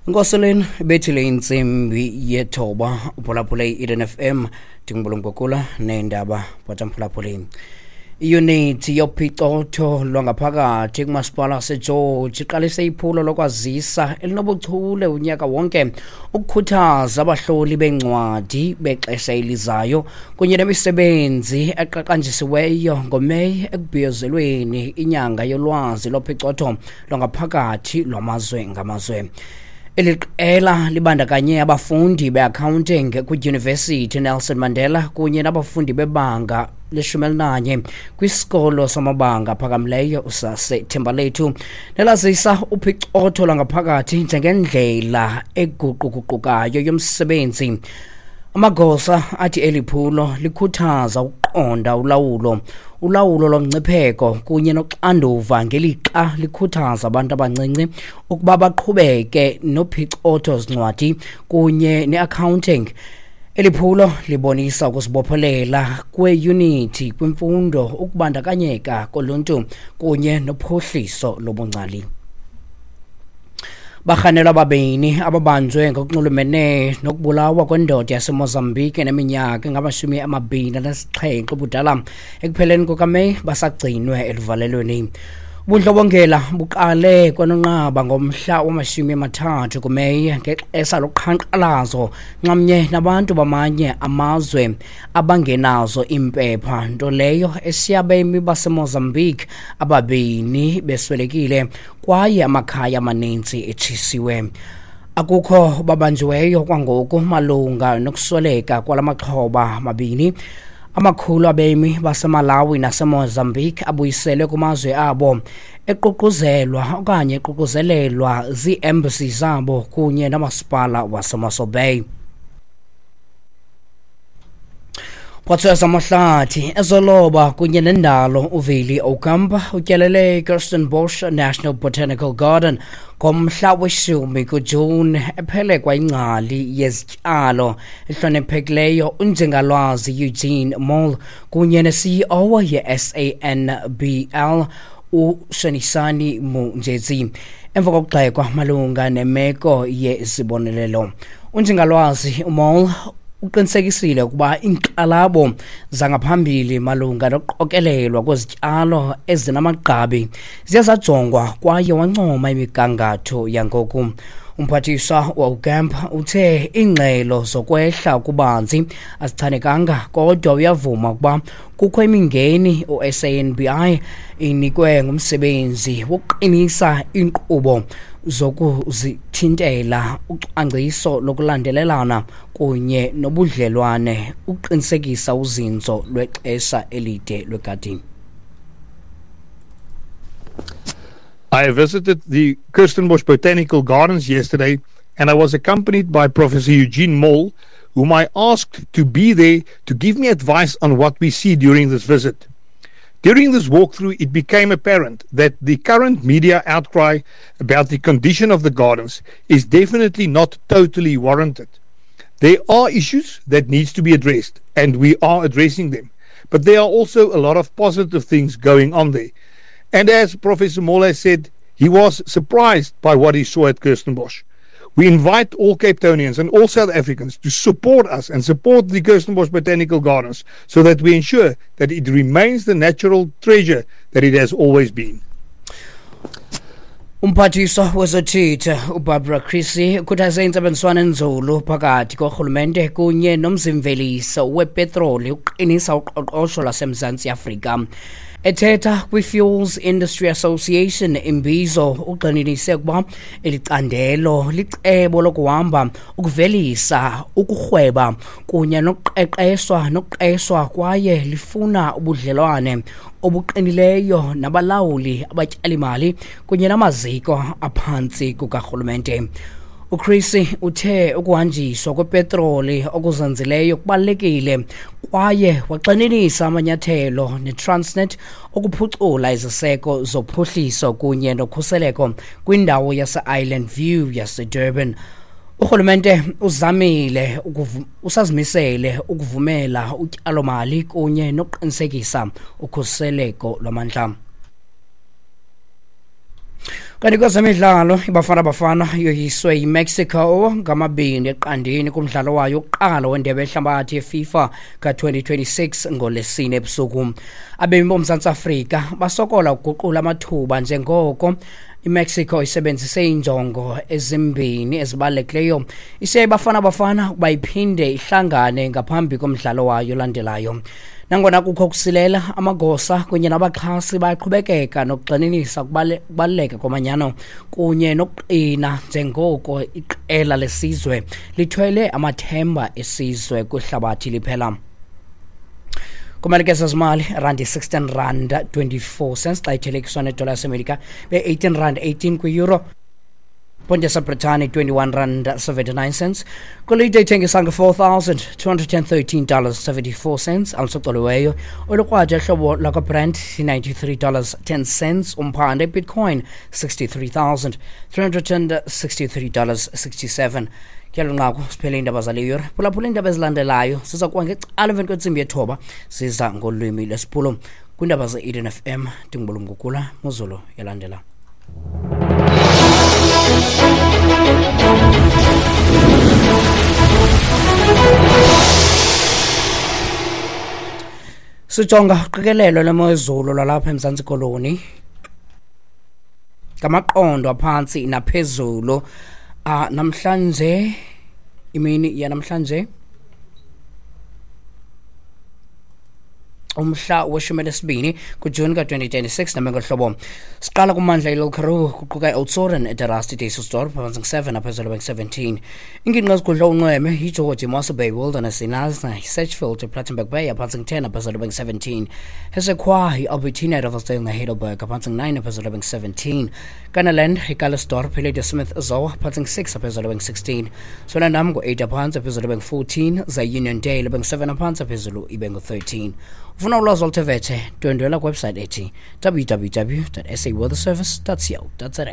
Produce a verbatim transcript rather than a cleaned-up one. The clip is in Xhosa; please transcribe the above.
Nkoseleni bethile intsimbi yethoba, uphulaphule i-Eden F M, ndingubulungokula neendaba bhatamphulaphuleni. Iyunithi yophicotho lwangaphakathi kumasipala waseGeorge iqalise iphulo lokwazisa elinobuchule unyaka wonke ukukhuthaza abahloli beencwadi bexesha elizayo kunye nemisebenzi eqaqanjisiweyo ngoMeyi ekubhiyozelweni inyanga yolwazi lophicotho lwangaphakathi lwamazwe ngamazwe. Eli qela libandakanye abafundi be-accounting kwiDyunivesithi Nelson Mandela kunye nabafundi bebanga leshumi elinanye kwisikolo samabanga aphakamileyo saseThembalethu, nelazisa uphicotho lwangaphakathi njengendlela eguquguqukayo yomsebenzi. Amagosa athi eli phulo likhuthaza ukuqonda ulawulo ulawulo lomngcipheko kunye noxanduva, ngelixa likhuthaza abantu abancinci ukuba baqhubeke nophicotho zincwadi kunye ne-accounting. Eli phulo libonisa ukuzibophelela kweyunithi kwimfundo, ukubandakanyeka koluntu kunye nophuhliso lobungcali. Barhanelwa ababini ababanjwe ngokunxulumene nokubulawa kwendoda yaseMozambique eneminyaka engamashumi amabini anesixhenxe ubudala ekupheleni kukaMeyi basagcinwe eluvalelweni. Ubundlobongela buqale kwanonqaba ngomhla wamashumi amathathu kuMeyi ngexesha loqhankqalazo nxamnye nabantu bamanye amazwe abangenazo iimpepha, nto leyo esiyabemi baseMozambique ababini beswelekile kwaye amakhaya amaninzi etshisiwe. Akukho babanjiweyo kwangoku malunga nokusweleka kwala maxhoba mabini. Amakhulu abemi baseMalawi naseMozambique abuyiselwe kumazwe abo eququzelwa okanye eququzelelwa zii-embassy zabo kunye nomasipala waseMossel Bay. Phathiwa amahlathi, ezoloba kunye nendalo uVili Ocamp utyelele iKirstenbosch National Botanical Garden ngomhla weshumi kuJuni, ephelekwa ingcali yezityalo ehloniphekileyo uNjingalwazi Eugene Moll kunye ne-C E O ye-S A N B L uShonisani Munjezi, emva kokugxekwa malunga nemeko yezibonelelo. UNjingalwazi uMoll uqinisekisile ukuba iinkxalabo zangaphambili malunga nokuqokelelwa kwezityalo ezinamagqabi ziye zajongwa kwaye wancoma imigangatho yangoku. Umphathiswa uAucamp uthe iingxelo zokwehla kubanzi azichanekanga, kodwa uyavuma ukuba kukho imingeni. U-S A N B I inikwe ngumsebenzi wokuqinisa iinkqubo zokuzithintela, ucwangciso lokulandelelana kunye nobudlelwane ukuqinisekisa uzinzo lwexesha elide lwegadini. I visited the Kirstenbosch Botanical Gardens yesterday, and I was accompanied by Professor Eugene Moll, whom I asked to be there to give me advice on what we see during this visit. During this walkthrough, it became apparent that the current media outcry about the condition of the gardens is definitely not totally warranted. There are issues that needs to be addressed, and we are addressing them. But there are also a lot of positive things going on there. And as Professor Moll has said, he was surprised by what he saw at Kirstenbosch. We invite all Capetonians and all South Africans to support us and support the Kirstenbosch Botanical Gardens so that we ensure that it remains the natural treasure that it has always been. Umphathiswa wezothutho uBarbara Creecy ukhuthaze intsebenziswano enzulu phakathi korhulumente kunye nomzimveliso wepetroli ukuqinisa uqoqosho lwaseMzantsi Afrika. Ethetha kwi-Fuels Industry Association imbizo, ugxininise ukuba eli candelo licebo lokuhamba, ukuvelisa, ukurhweba kunye nokuqeqeshwa nokuqeshwa kwaye lifuna ubudlelwane obuqinileyo nabalawuli, abatyalimali kunye namaziko aphantsi kukarhulumente. UCreecy uthe ukuhanjiswa kwepetroli okuzinzileyo kubalulekile kwaye wagxininisa amanyathelo neTransnet ukuphucula iziseko zophuhliso kunye nokhuseleko kwindawo yase-Island View yaseDurban. Urhulumente uzamile usazimisele ukuvumela utyalomali kunye nokuqinisekisa ukhuseleko lwamandla. Kanti kwezemidlalo, iBafana Bafana yoyiswe yiMexico ngamabini eqandeni kumdlalo wayo wokuqala wendebe yehlabathi yeFIFA ka-twenty twenty-six ngoLwesine ebusuku. Abemi boMzantsi Afrika basokola ukuguqula amathuba njengoko iMexico isebenzise iinjongo ezimbini ezibalulekileyo. Isiya iBafana Bafana ukuba iphinde ihlangane ngaphambi komdlalo wayo olandelayo. Nangona kukho ukusilela, amagosa kunye nabaxhasi bayaqhubekeka nokugxininisa ukubaluleka komanyano kunye nokuqina njengoko iqela lesizwe lithwele amathemba esizwe kwihlabathi liphela. Kumalike zezimali, randi sixteen rand twenty-four cents xa ithelekiswa nedola yaseMelika, be-eighteen rand eighteen kwi-euro. Ponde yaseBritane twenty-one rand seventy-nine cents. Golide ithengisa nge-four thousand two hundred and thirteen dollars seventy-four cents. Alusocoliweyo olukrwada ehlobo lakwaBrent ninety-three dollars ten cents. Umphande Bitcoin sixty-three thousand three hundred and sixty-three dollars sixty-seven. Kuyalo nqaku siphele iindaba zale yure. Phulaphula iindaba ezilandelayo siza kuba ngecala emveni kwentsimbi yethoba siza ngolwimi lwesiPulu. Kwiindaba ze-Eden F M ndingubulumgugula Mozulu yalandela. Sijonga uqikelelo lwemozulu lwalapha eMzantsi Koloni ngamaqondo aphantsi naphezulu. Ah, namhlanje imini yanamhlanje umhla weshumi elinesibini kuJuni ka-twenty twenty-six namengohlobo. Siqala kumandla iLil Karoo kuquka i-Oudtshoorn, eDerasti, Dysselsdorp phantsi ngu-seven aphezulu bengu-seventeen. Ingingqi ezigudla unxweme yiGeorge, iMossel Bay, Wilderness, iNasna, iSedgefield, iPlattenberg Bay phantsi ngu-ten aphezulu bengu-seventeen. Hesekwa, i-Albertina, iRiversdale neHeidelberg phantsi ngu-nine aphezulu bengu-seventeen. Kannaland, iCallesdorp, iLadysmith, Zoar phantsi ngu-six aphezulu bengu-sixteen. Swellendam ngu-eight aphantsi aphezulu bengu-fourteen. Ze-Uniondale bengu-seven aphantsi aphezulu ibe ngu-thirteen. Ufuna ulwazi oluthe vetshe, ndwendwela kwiwebsite ethi w w w dot s a weather service dot co dot za.